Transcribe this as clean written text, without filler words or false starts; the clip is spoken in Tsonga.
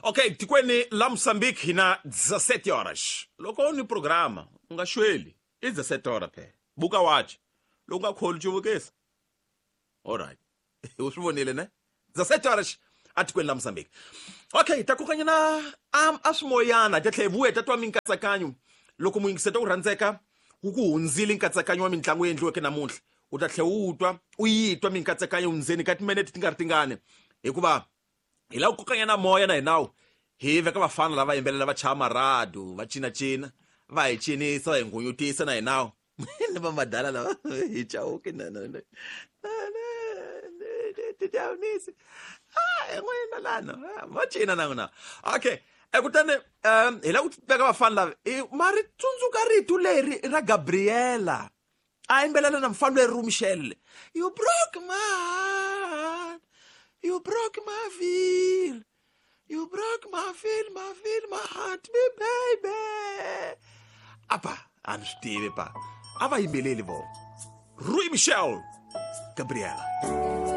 Okay, tikweni la Mozambique hi na 17 horas. Loko u ni programa u nga xweli, i 17 horas phela. Buka wachi. Loko u nga kholi cuvukisa. Alright. U swi vonile ne? 17 horas atikweni la Mozambique. Okay, ta kokanyana a swimoyana ta tlhela hi vuya ta twa minkatsakanyo loko muyingiseta u rhandzeka wu ku hundzile nkatsakanyo wa mitlangu yi endliweke namuntlha u ta tlhela u twa u yi twa minkatsakanyo ndzeni ka timinete ti nga ri tingani hikuva hi lava ku kokanyana moya na hinawu hi veka vafana lava yimbelela va chaya maradu va cinacina va hi cinisa va hi nghunyutisa na hinawu ni va madala lava hi chauke na na na tidyawunisi ah n'wina lana va cina na n'wina okay kutani hi lava ku veka vafana lava ma ri tsundzuka rito leri ra Gabriela a yimbelela na mufana leri Michelle you broke my heart you broke my feel you broke my feel my feel my heart me baby apa a ni swi tivi pa a va yimbeleli vo Rui Michel Gabriela.